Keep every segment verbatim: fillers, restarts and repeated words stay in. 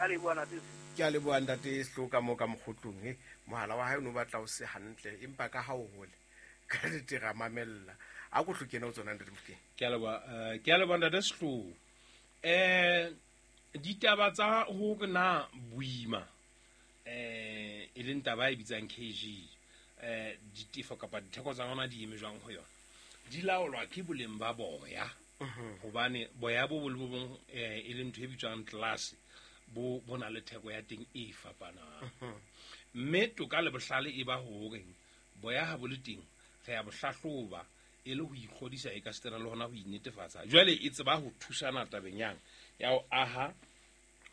Ka leboha ntate. Ke a leboha ntate Sehloho ka moo ka mokgotlong e mohala wa hae o no batla o se hantle empa ka ha o hole ka nnete ra mamella. A ko hlo kena ho tsona ntate Mofokeng. Ke a leboha, eh, ke a leboha ntate Sehloho. Eh, ditaba tsa hore na boima eh e leng taba e bitsang K G eh ditefo kapa ditheko tsa yona di eme jwang ho yona di laolwa ke boleng ba boya. Hobane boya bo bo le bo bong eh e leng ntho e bitswang class bo bo na le theko ya teng e fapanang. Mme toka le bohlale e ba hore boya ha bo le teng re ya bo hlahloba e le ho ikgodisa e ka setena le hona ho inetefatsa. Jwale e tseba ho thusana tabeng yang ya ho aha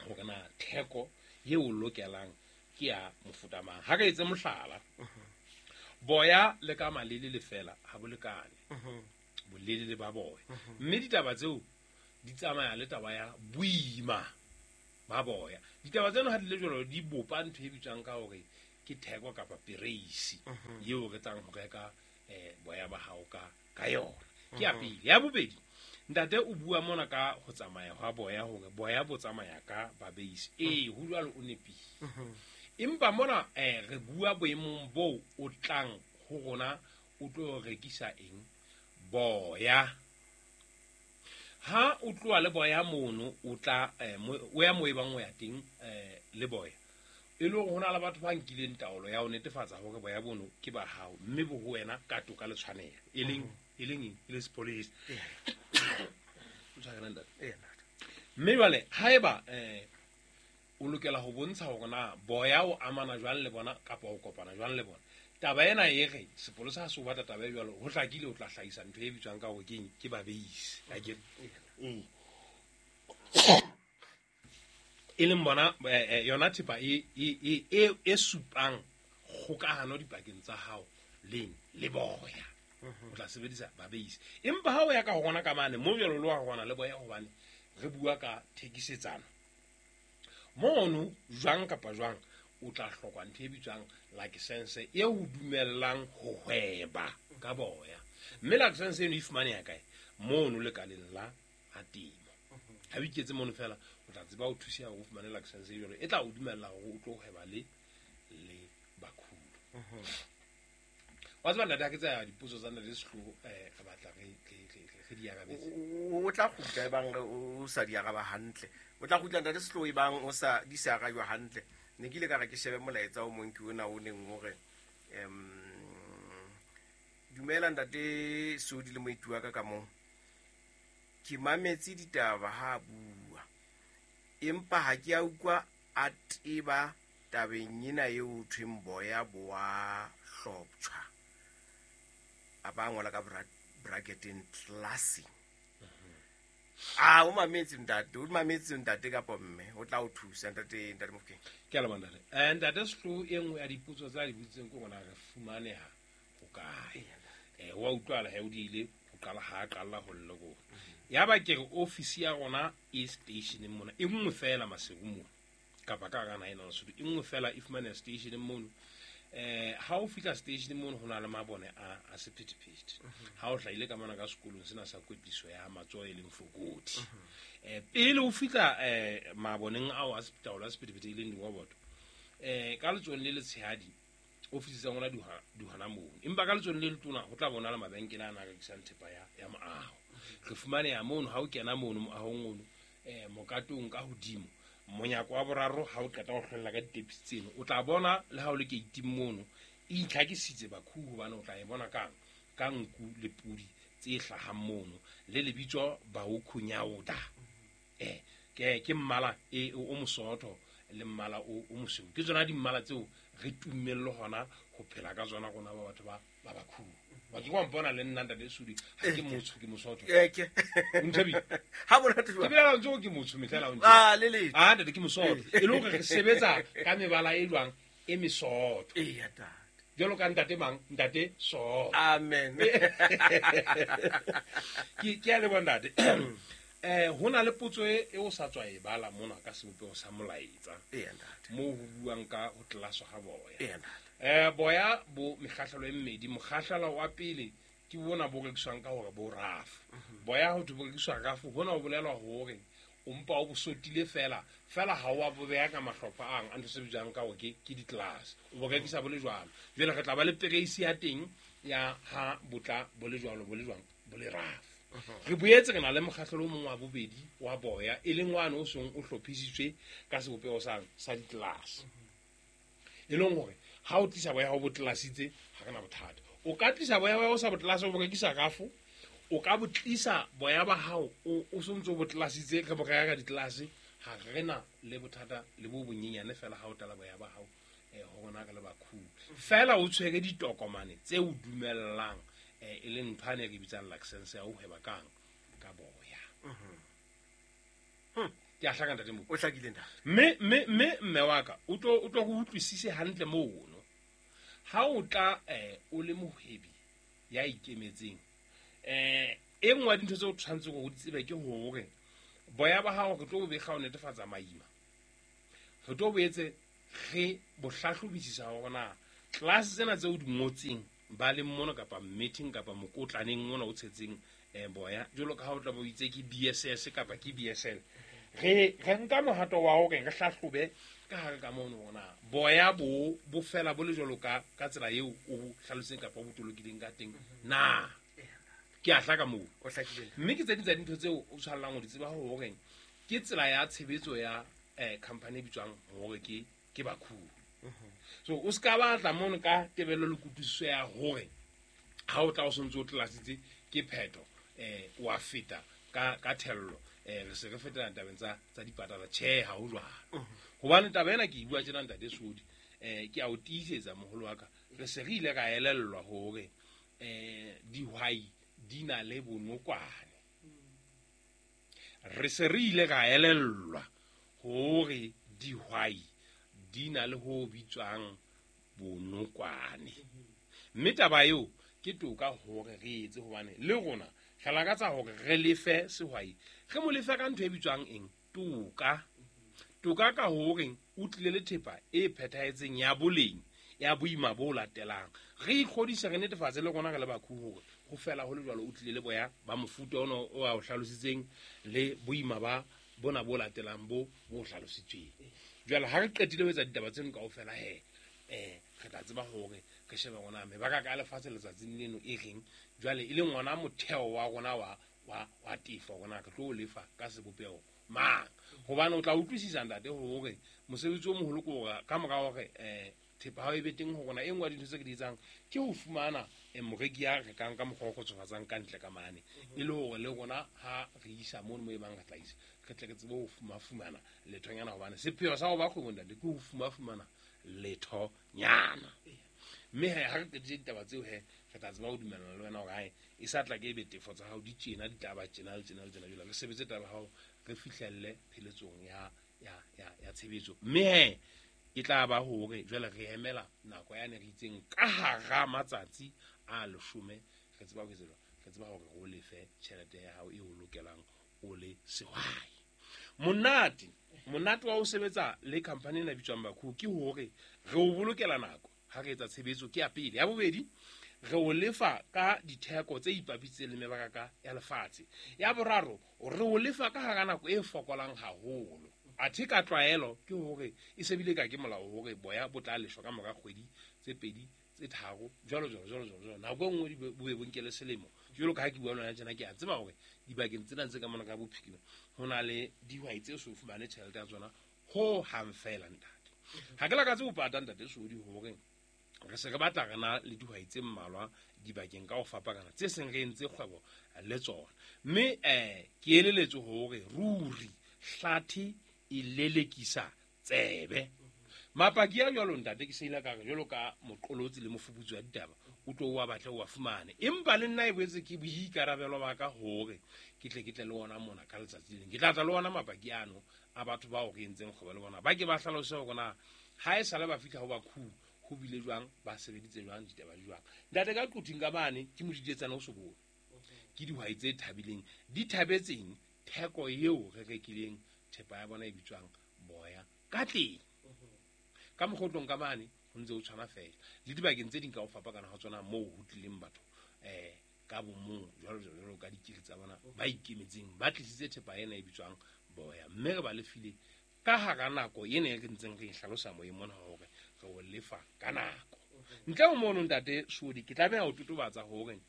hore na theko eo o lokelang ke ya mofuta mang. Ha re etse mohlala, boya le ka malele le fela ha bo lekane bolelele ba boya, mme ditaba tseo di tsamaya le taba ya boima ba boya. Ditaba tseno ha di le jwalo di bopa ntho e bitswang ka hore ke theko kapa pereisi eo re tlang ho reka eh boya ba hao ka ka yona. Ke ya pele. Ya bobedi, ntate o bua mona ka ho tsamaya hwa boya hore boya bo tsamaya ka babeisi. Ee, ho jwalo o nepile. Empa mona eh re bua boemong bo o tlang ho rona o tlo rekisa eng? Boya. Ha o tloha le boya mono o tla eh, o ya mo e bang o ya teng eh le boya. E le hore ho na le batho ba nkileng taolo ya ho netefatsa hore boya bono ke ba hao mme bo ho wena ka toka le tshwanelo. E leng e leng eng? E le sepolesa. O tshwarela ntate. Ee, ntate. Mme jwale haeba eh o lokela ho bontsha hore na boya o amana jwang le bona kapa o kopana jwang le bona. Taba ena e re sepolesa ha se o batla taba e jwalo ho hlakile o tla hlahisa ntho e bitswang ka hore ke eng? Ke babeisi. Akere? Mm. E leng bona, eh, eh, yona thepa e, e, e, e, e supang kgokahano dipakeng tsa hao leng le boya. O tla sebedisa babeisi. Empa ha o ya ka ho rona ka mane, mo jwalo le wa rona le boya hobane re bua ka thekisetsano. Mono jwang kapa jwang o tla hloka ntho e bitswang license e o dumellang ho hweba ka boya. Mme license eno e fumaneha kae? Mono lekaleng la ha temo. Ha o iketse mono fela o tla tseba ho thuseha hore o fumane license e jwalo e tla o dumella hore o tlo hweba le le bakhulo. Wa tseba ntate, ha ke tsaya dipotso tsa ntate Sehloho, eh, re batla re, re, re, re, re di arabetse. O, o, o tla kgutla ebang o sa di araba hantle. O tla kgutla ntate Sehloho ebang o sa di sa arajwa hantle. Ne ke ile ka re ke shebe molaetsa o mong ke ona o neng o re, em, dumela ntate Sodi le moeti wa ka ka moo. Ke mametse ditaba ha a bua, empa ha ke a utlwa a teba tabeng ena eo ho thweng boya bo a hloptjhwa. A ba ngola ka bra-, bracketeng classy. Ah, o mametse ntate, o mametse ntate kapa mme, o tla o thusa ntate, ntate Mofokeng. Ke a leboha ntate. Eh, ntate Sehloho, e nngwe ya dipotso tsa di botsitseng ke hore na re fumaneha hokae. Eh, wa utlwahala he o diile ho qala ha a qala ho lle rona. Ya ba ke re office ya rona e stationeng mona, e nngwe fela Maseru mona, kapa ka hara naha ena ya Lesotho, e nngwe fela e fumaneha stationeng mono. Eh, ha o fihla stationeng mono ho na le mabone a, a sephethephethe. Ha o hlahile ka mona ka sekolong sena sa kwetliso ya matsoho e leng Fokodi. Eh, pele o fihla, eh, maboneng ao a taolo ya sephethephethe e leng diroboto, eh, ka letsohong le letshehadi ofisi tsa rona di hona, di hona mono. Empa ka letsohong le letona ho tla bonala mabenkele a na rekisang thepa ya, ya moaho. Re fumaneha mono ha o kena mono moahong ono, eh, mokatong ka hodimo. Monyako wa boraro ha o qeta ho hlwella ka ditepisi tseno, o tla bona le ha o le keiting mono e itlhakisitse bakhu, hobane o tla e bona kang ka nku le pudi tse hlahang mono le lebitso Baokhunyauda. Eh, ke, ke mmala e, o mosootho le mmala o, o mosweu. Ke tsona dimmala tseo re tummeng le hona ho phela ka tsona rona ba batho ba, ba bakhu. Ba ke wa mpona le nna ntate Sodi, ha ke motsho, ke mosotho. Eh, ke. O nthabile? Ha monate jwang? Ke bela ntse ke motsho mehla la o ntse. Ah, le le. Ah, ntate ke mosotho. E le hore re sebetsa ka mebala e jwang? E mesotho. Eya, ntate. Jwalo ka ntate mang? Ntate Sotho. Amen. Ke, ke a leboha ntate. Eh, ho na le potso e, e o sa tswa e bala mona ka sebopeho sa molaetsa. Eya, ntate. Moo ho buang ka ho tlelaswa ha boya. Eya, ntate. Eh, boya bo mekgahlelo e mmedi. Mokgahlelo wa pele ke bona bo rekiswang ka hore bo rafu. Mhm. Boya ho thwe bo rekiswa rafu, hona ho bolelwa hore o mpa o bo sotile fela fela ha wa bo beha ka mahlopha ang a ntho se bitswang ka hore ke ke di-class o bo rekisa bo le jwalo. Jwale re tla ba le pereisi ya teng ya ha botla bo le jwalo bo le jwang bo le rafu. Re boetse re na le mokgahlelo o mong wa bobedi wa boya e leng wane o seng o hlophisitswe ka sebopeho sa sa di-class, e leng hore ha o tlisa boya ho bo tlelasitse ha re na bothata. O ka tlisa boya ba o sa bo tlelase o bo rekisa rafo, o ka bo tlisa boya ba hao o o sontso bo tlelasitse re bo reka ka ditlelase, ha re na le bothata le bo bonyenyane fela ha o tala boya ba hao eh ho rona re le bakhubu. Fela o tshwere ditokomane tse o dumellang eh e leng ntho ane re bitsang license ya ho hweba kang ka boya. Ke a hlaka ntate Mokopi. O hlakile ntate. Mme mme mme mme wa ka o tlo o tlo go utlwisise hantle mono. Ha o tla eh o le mohwebi ya ikemetseng eh e nngwe ya dintho tseo o tshwanetseng hore o di tsebe ke hore boya ba hao re tlo bo bekga ho netefatsa maima. Re tlo boetse re bo hlahlobisisa hore na class tsena tseo di ngotseng ba le mono kapa meeting kapa mokotlaneng mona o tshetseng eh boya jwalo ka ha o tla bo itse ke B S S kapa ke B S L. Re re nka mohato wa hore re hlahlobe ka hare ka mono hore na boya bo bo fela bo le jwalo ka ka tsela eo o hlalositseng kapa o bo tolokileng ka teng na. Ke a hlaka moo. O hlakile. Mme ke tse ding tsa dintho tseo o tshwanelang ho di tseba hore ke tsela ya tshebetso ya eh company e bitswang hore ke ke Bakhubu. So o ska batla mono ka tebello le kutlwisiso ya hore ha o tla o sontse o tlelasitse ke phetho eh wa feta ka ka thello eh re se re fetela tabeng tsa tsa dipatala. Tjhe, ha ho jwalo. Hobane taba ena ke e bua tjena ntate Sodi, eh ke a o tiisetsa moholo wa ka, re se re ile ra elellwa hore eh dihwai di na le bonokwane. Re se re ile ra elellwa hore dihwai di na le ho bitswang bonokwane. Mme taba eo ke toka hore re etse hobane le rona re lakatsa hore re lefe sehwai, re mo lefe ka ntho e bitswang eng, toka. Toka ka hore o tlile le thepa e phethahetseng ya boleng ya boima bo latelang. Re ikgodise re netefatse le rona re le bakhubu hore ho fela ho le jwalo o tlile le boya ba mofuta ono o a o hlalositseng le boima ba bona bo latelang bo bo hlalositsweng. Jwale ha re qetile ho etsa ditaba tseno kaofela he eh re tla tseba hore re shebe rona mebaka ka lefatshe letsatsing leno e reng jwale e leng ona motheo wa rona wa wa wa tefo rona re tlo lefa ka sebopeho mang. Hobane o tla utlwisisa ntate hore mosebetsi o moholo ke hore ka mora hore eh thepa ha e be teng ho rona e nngwe ya dintho tse ke di etsang ke ho fumana moreki ya rekang ka mokgwa o kgotsofatsang ka ntle ka mane, e le hore le rona ha re isa mono mo e bang re tla isa re tle re tsebe ho fumafumana lethonyana, hobane sepheo sa ho ba kgwebong ntate ke ho fumafumana lethonyana. Mme he ha re qetile ditaba tseo he re tla tseba ho dumellana le wena hore hae e sa tla ke ebe tefo tsa hao di tjena di tla ba tjena le tjena le tjena, jwale re sebetse taba ya hao re fihlelle pheletsong ya ya ya ya tshebetso. Mme he e tla ba hore jwale re emela nako yane re itseng ka hara matsatsi a leshome re tseba ho etsa re tseba hore o lefe tjhelete ya hao e o lokelang o le sehwai. Monate monate wa ho sebetsa le company ena bitswang Bakhubu ke hore re o bolokela nako ha re etsa tshebetso ke ya pele. Ya bobedi, re o lefa ka ditheko tse ipapisitseng le mebaraka ya lefatshe. Ya boraro, re o lefa ka hara nako e fokolang haholo. Athe ka tlwaelo ke hore e sebile ka ke molao hore boya bo tla leshwa ka mora kgwedi tse pedi tse tharo jwalo jwalo jwalo jwalo jwalo. Nako e nngwe di bo be bo nkele selemo. Jwalo ka ha ke bua le wena tjena, ke a tseba hore dibakeng tsena tse ka mona ka bophirima ho na le dihwai tse so fumane tjhelete ya tsona ho hang fela ntate. Ha ke lakatse ho pata ntate Sodi hore re se re batla re na le dihwai tse mmalwa dibakeng ka ho fapana tse seng re entse kgwebo le tsona. Mme eh ke eleletswe hore ruri hlathe e lelekisa tsebe. Mapaki a jwalo ntate ke seila ka re jwalo ka moqolotsi le mofuputsi wa ditaba o tlo wa batle wa fumane, empa le nna e boetse ke boikarabelo ba ka hore ke tle ke tle le ona mona ka letsatsi le leng. Ke tla tla le ona mapaki ano a batho bao re entseng kgwebo le bona, ba ke ba hlalose hore na ha e sale ba fihla ho Bakhubu ho bile jwang, ba sebeditse jwang, ditaba di jwang. Ntate ka Quthing ka mane ke modidietsane o sobolo, ke dihwai tse thabileng di thabetseng theko eo re rekileng thepa ya bona e bitswang boya ka teng. Ka mokgotlong ka mane ho ntse ho tshwana fela le dibakeng tse ding ka ho fapana ha tsona moo ho tlileng batho eh ka bomong jwalo jwalo jwalo ka dikiri tsa bona ba ikemetseng ba tlisitse thepa ena e bitswang boya mme re ba lefile ka hara nako ena e re ntseng re e hlalosa moyeng mona hore re o lefa ka nako. Ntle ho mono ntate Sodi ke tlameha ho totobatsa hore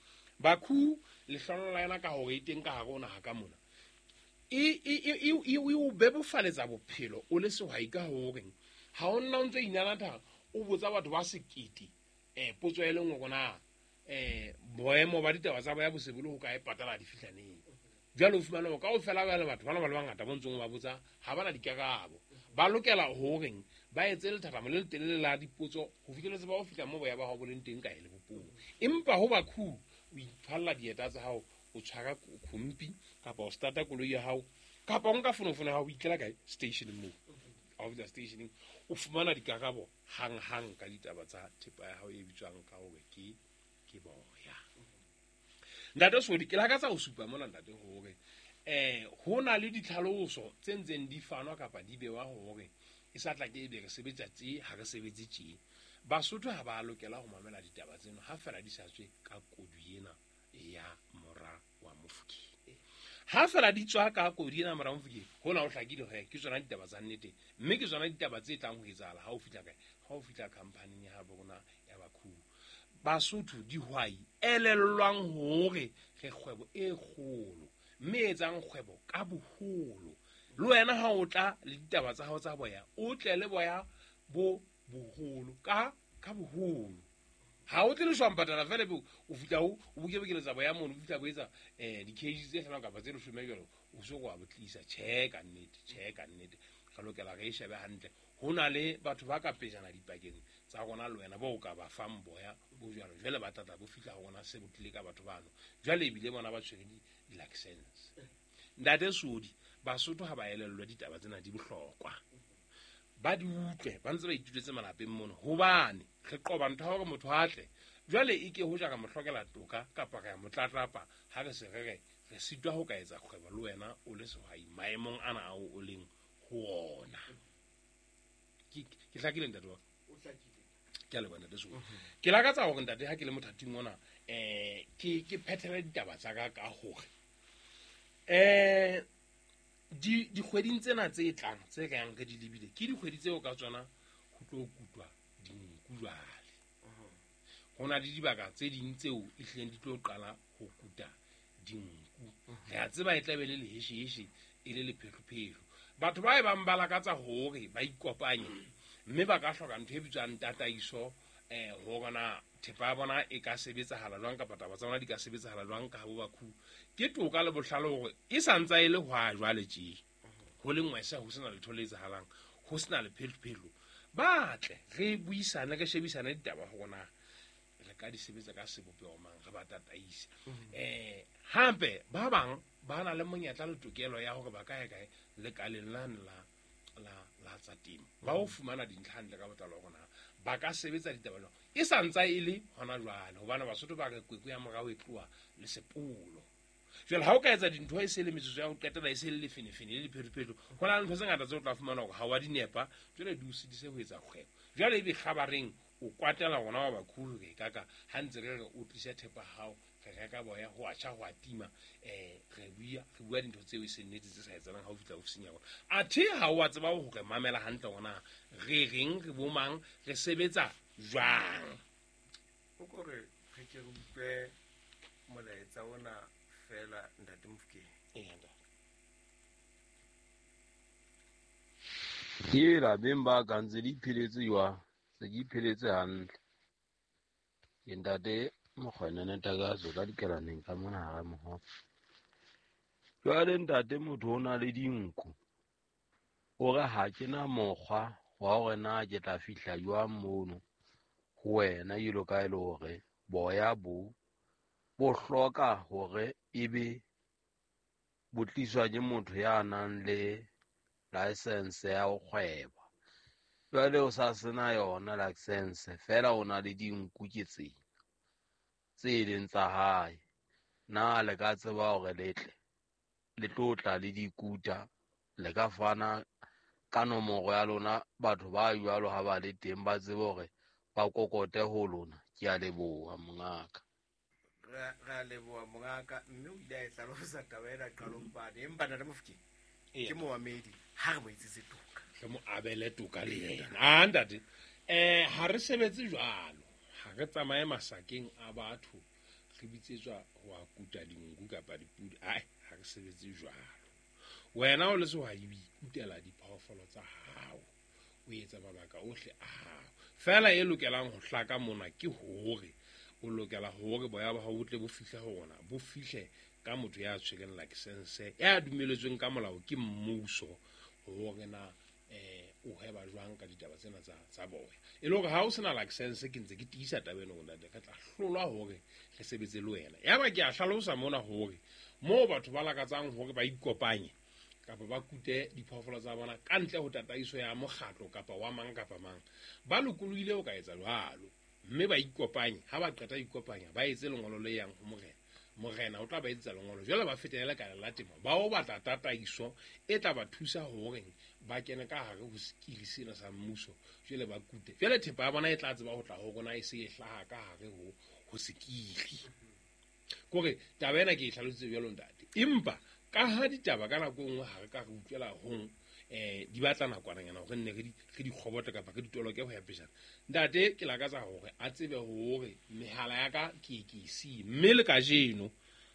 Bakhu lehlolo la yona ka hore e teng ka hare ho naha ka mona e e e e o bebofaletsa bophelo o le sehwai ka hore ha o nna o ntso inanatha o botsa batho ba sekete eh potso e le nngwe na eh boemo ba ditaba tsa boya bo se bo le ho kae patala di fihla neng. Jwale o fumana hore kaofela ba le batho bana ba le bangata bo ntsong ba botsa ha bana dikarabo. Ba lokela horeng ba etse lethathamo le letelele la dipotso ho fihleletse ba ho fihla moo boya ba hao bo leng teng kae lebopong. Empa ho Bakhu o ithwalla dieta tsa hao, o tshwara khompi kapa o starta koloi ya hao kapa o nka fonofono ya hao o itlela kae station moo. Ha o fihla stationeng o fumana dikarabo hang-hang ka ditaba tsa thepa ya hao e bitswang ka hore ke ke boya. Ntate Sodi ke lakatsa ho supa mona ntate hore eh ho na le ditlhaloso tse ntseng di fanwa kapa di bewa hore e sa tla ke ebe re sebetsa tje ha re sebetse tje. Basotho ha ba lokela ho mamela ditaba tseno ha fela di sa tswe ka kodu ena ya mora wa Mofokeng. Ha fela di tswa ka kodu ena mora wa Mofokeng hona ho hlakile hore ke tsona ditaba tsa nnete mme ke tsona ditaba tse tlang ho etsahala ha o fihla kae, ha o fihla khamphaning ya habo rona ya Bakhu. Basotho dihwai elellwang hore re kgwebo e kgolo mme etsang kgwebo ka boholo. Le wena ha o tla le ditaba tsa hao tsa boya o tle le boya bo boholo ka ka boholo. Ha o tle le shwampatala fela be o fihla o o bokebekeletsa boya mono o fihla bo etsa eh di-kg tse hlano kapa tse leshome jwalo o so wa bo tlisa. Tjhe ka nnete, tjhe ka nnete re lokela re e shebe hantle. Ho na le batho ba ka pejana dipakeng tsa rona le wena bo ka ba fang boya bo jwalo jwale ba tlatla bo fihla ho rona se bo tlile ka batho bano jwale ebile bona ba tshwere di-license. Ntate Sodi Basotho ha ba elellwa ditaba tsena di bohlokwa ba di utlwe ba ntse ba ituletse malapeng mono hobane re qoba ntho ya hore motho a tle jwale e ke hoja ka mo hlokela toka kapa ka mo tlatlapa ha re se re re re sitwa ho ka etsa kgwebo le wena o le sehwai maemong ana ao o leng ho ona. Ke ke hlakile ntate wa O hlakile. Ke a leboha ntate Sodi. Ke lakatsa hore ntate ha ke le mothating ona eh ke ke phethele ditaba tsa ka ka hore eh di dikgweding tsena tse tlang tse re yang re di lebile ke dikgwedi tseo ka tsona ho tlo kutwa dinku jwale. Ho na le dibaka tse ding tseo e hlileng di tlo qala ho kuta dinku. Re a tseba e tla be le lehesheheshe e le lephehlophehlo. Batho ba e bang ba lakatsa hore ba ikopanye mme ba ka hloka ntho e bitswang tataiso eh hore na thepa ya bona e ka sebetsahala jwang kapa taba tsa bona di ka sebetsahala jwang ka habo Bakhu. Ke toka le bohlale hore e sa ntsa e le hwa jwale tje ho le ngwesa ho sena letho le etsahalang ho sena lephehlophehlo. Ba tle re buisane re shebisane ditaba hore na re ka di sebetsa ka sebopeho mang re ba tataise. Eh hape ba bang ba na le monyetla le tokelo ya hore ba ka ya kae lekaleng lane la la la tsa temo ba o fumana dintlha hantle ka botlalo hore na ba ka sebetsa ditaba jwang e sa ntsa e le hona jwale hobane Basotho ba re kwekwe ya morao e tloha le sepolo. Jwale ha o ka etsa dintho e se le metsotso ya ho qetela e se le lefenefene le lephetophetoho ho na le ntho tse ngata tseo o tla fumana hore ha wa di nepa jwale di o sitise ho etsa kgwebo. Jwale ebe kgabareng o kwatela rona wa Bakhu re kaka ha ntse re re o tlise thepa hao re reka boya ho a tjha ho a tima eh re bua re bua dintho tseo e seng nnete tse sa etsahalang ha o fihla ofising ya rona. Athe ha o a tseba hore mamela hantle hore na re reng re bomang re sebetsa jwang. O kore re ke re utlwe molaetsa ona fela ntate Mofokeng. Ee ntate. Ke lapeng ba ka ntse di ipheletse jwang? Se ke ipheletse hantle. Ke ntate Mokgwenene Takatso ka dikelaneng ka mona hara mohope. Jwale ntate motho o na le dinku. O re ha ke na mokgwa wa hore na ke tla fihla jwang mono ho wena jwalo ka e le hore boya bo bo hloka hore ebe bo tliswa ke motho ya nang le license ya ho kgweba. Jwale o sa sena yona license fela o na le dinku ke tsena tse leng tsa hae. Na le ka tseba hore le tle le tlo tla le dikuta le ka fana ka nomoro ya lona batho ba jwalo ha ba le teng ba tsebe hore ba kokote ho lona. Ke a leboha mongaka. Re a leboha mongaka mme o ile a e hlalosa taba ena qalong pane empa ntate Mofokeng Ke moamedi ha re mo etsetse toka. Re mo abele toka le yena. Ah ntate, eh ha re sebetse jwalo. Ha re tsamaye masakeng a batho re bitsetswa ho a kuta dinku kapa dipudi. Ai, ha re sebetse jwalo. Wena o le sehwai o ikutela diphoofolo tsa hao. O etsa mabaka ohle a hao. Fela e lokelang ho hlaka mona ke hore o lokela hore boya ba hao bo tle bo fihle ho rona, bo fihle ka motho ya tshwereng license ya dumeletsweng ka molao ke mmuso hore na eh o hweba jwang ka ditaba tsena tsa tsa boya. E le hore ha o sena license ke ntse ke tiisa taba ena hore ntate ka tla hlolwa hore re sebetse le wena. Yaba ke a hlalosa mona hore moo batho ba lakatsang hore ba ikopanye kapa ba kute diphoofolo tsa bona ka ntle ho tataiso ya mokgatlo kapa wa mang kapa mang, ba lokolohile ho ka etsa jwalo mme ba ikopanye. Ha ba qeta ikopanya ba etse lengolo le yang ho morena. Morena o tla ba etsetsa lengolo, jwale ba fetele ka la temo, ba o batla tataiso e tla ba thusa hore ba kene ka hare ho sekili sena sa mmuso, jwale ba kute. Jwale thepa ya bona e tla tseba ho tla ho rona e se e hlaha ka hare ho ho sekili. Kore taba ena ke e hlalositse jwalo ntate, empa ka ha ditaba ka nako e nngwe ha re ka re utlwela hong eh di batla nakwananyana hore nne re di re di kgobotle kapa re di toloke ho ya pejana. Ntate ke lakatsa hore a tsebe hore mehala ya ka ke ke siye, mme le kajeno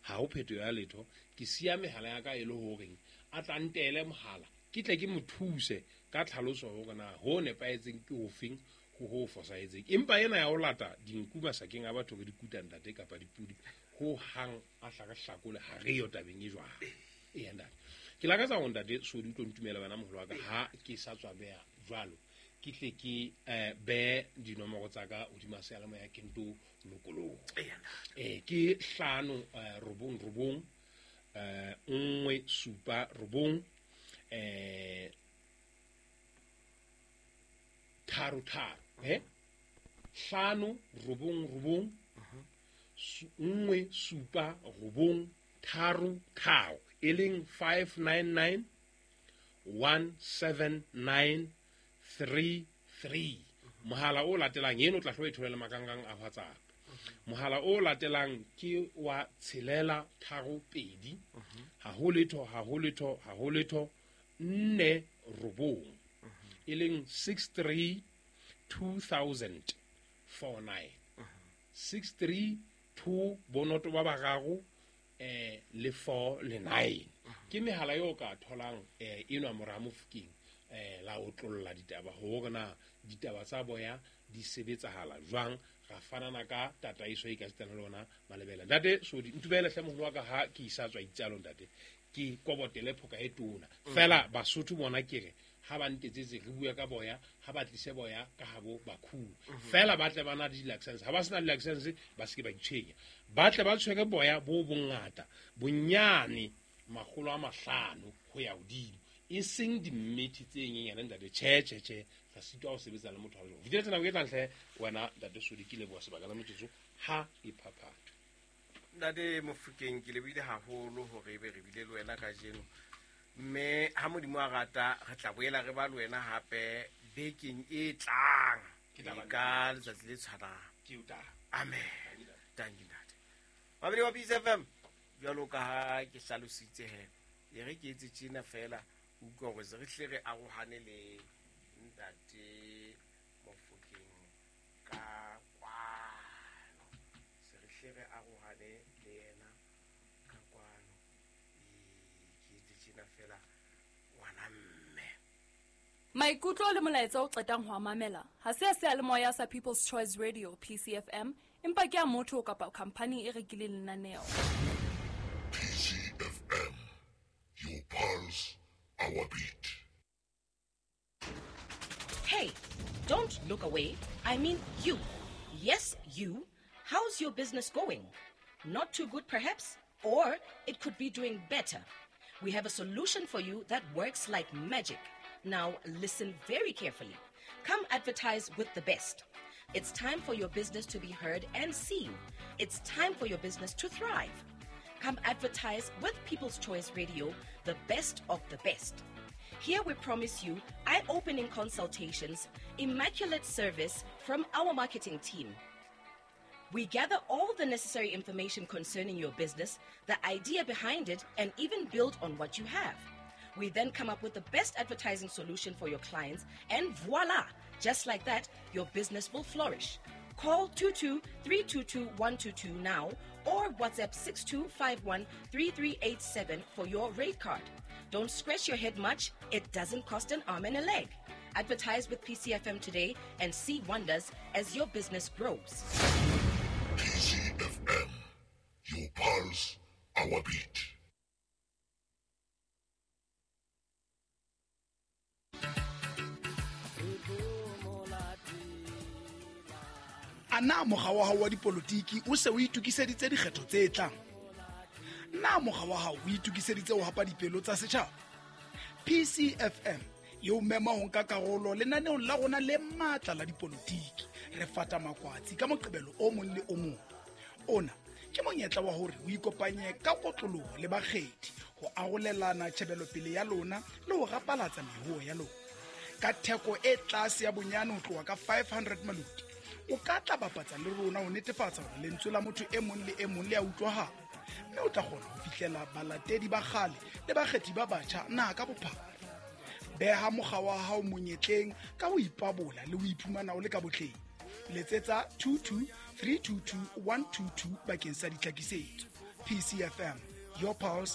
ha ho phetho ya letho, ke siya mehala ya ka e le horeng a tla ntele mohala ke tle ke mo thuse ka tlhaloso hore na ho nepahetseng ke hofeng ho ho fosahetseng. Empa ena ya ho lata dinku masakeng a batho re di kuta ntate kapa dipudi ho hang a hla re hlakole ha re yo tabeng e jwang. Ee ntate, ke lakatsa hore ntate Sodi o tlo ntumela wena moholo wa ka ha ke sa tswa beha jwalo, ke tle ke eh be dinomoro tsa ka hodima seyalemoya ke nto lokoloha. Eh ke hlano robong robong eh nngwe supa robong eh tharo tharo eh hlano robong robong nngwe supa robong tharo tharo, e leng five nine nine one seven nine three three. Mohala o latelang eno tla hloe tholela makangang a WhatsApp. Mohala o latelang ke wa tshelela tharo pedi ha ho letho ha ho letho ha ho letho nne robong, e leng six three two thousand four nine six three two bonoto ba bararo eh le four le nine. Ke mehala eo ka tholang eh enwa mora Mofokeng eh la otlolla ditaba hore na ditaba tsa boya di sebetsahala jwang, ra fanana ka tataiso e ka sitana le ona malebela. Ntate Sodi ntubele hle moholo wa ka ha ke isa tswa itsalo ntate, ke kobotele phoka e tona fela Basotho bona ke re ha ba ntetsetse re bua ka boya, ha ba tlise boya ka habo bakhu fela ba tle ba na le di-license. Ha ba sena di-license ba se ke ba itshwenya, ba tle ba tshwere boya bo bongata bonyane makgolo a mahlano ho ya hodimo, e seng dimmethi tse nyenyane ntate. Tjhe tjhe tjhe, re sitwa ho sebetsa le motho wa jwang. Fitele nako e tlang hle wena ntate Sodi, ke leboha sebaka la metsotso ha e phaphatha. Ntate Mofokeng, ke lebohile haholo hore ebe re bile le wena kajeno, mme ha Modimo a rata re tla boela re ba le wena hape bekeng e tlang ka letsatsi le tshwanang. Amen. Thank you ntate. Babedi wa Peace F M, jwalo ka ha ke hlalositse he, e re ke etse tjena fela utlwa hore se re hle re arohane le ntate Mofokeng ka kwano, se re hle re arohane le yena ka kwano. Ke etse tjena fela ngwana mme. Maikutlo le molaetsa o qetang ho a mamela ha se a seyalemoya sa People's Choice Radio P C F M, empa ke a motho kapa khampani e rekileng lenaneo. P C F M, your pulse, our beat. Hey, don't look away. I mean you. Yes, you. How's your business going? Not too good, perhaps? Or it could be doing better. We have a solution for you that works like magic. Now, listen very carefully. Come advertise with the best. It's time for your business to be heard and seen. It's time for your business to thrive. Come advertise with People's Choice Radio, the best of the best. Here we promise you eye-opening consultations, immaculate service from our marketing team. We gather all the necessary information concerning your business, the idea behind it, and even build on what you have. We then come up with the best advertising solution for your clients, and voila! Just like that, your business will flourish. Call two two three two two one two two now or WhatsApp six two five one three three eight seven for your rate card. Don't scratch your head much, it doesn't cost an arm and a leg. Advertise with P C F M today and see wonders as your business grows. P C F M, your pulse, our beat. A na mokga wa hao wa dipolotiki o se o itokiseditse dikgetho tse tlang? Na mokga wa hao o itokiseditse ho hapa dipelo tsa setjhaba? P C F M e o mema ho nka karolo lenaneong la rona le matla la dipolotiki. Re fata makwatsi ka Moqebelo o mong le o mong. Ona ke monyetla wa hore o ikopanye ka kotloloho le bakgethi ho arolelana tjhebelopele ya lona le ho rapalatsa mehuo ya lona. Ka theko e tlase ya bonyane ho tloha ka five hundred maloti, o ka tla bapatsa le rona ho netefatsa hore lentswe la motho e mong le e mong le a utlwahala, mme o tla kgona ho fihlela balatedi ba kgale le bakgethi ba batjha naha ka bophara. Beha mokga wa hao monyetleng ka ho ipabola le ho iphumana o le ka botleng. Letsetsa two two three two two one two two bakeng sa ditlhakisetso. P C F M, your pulse,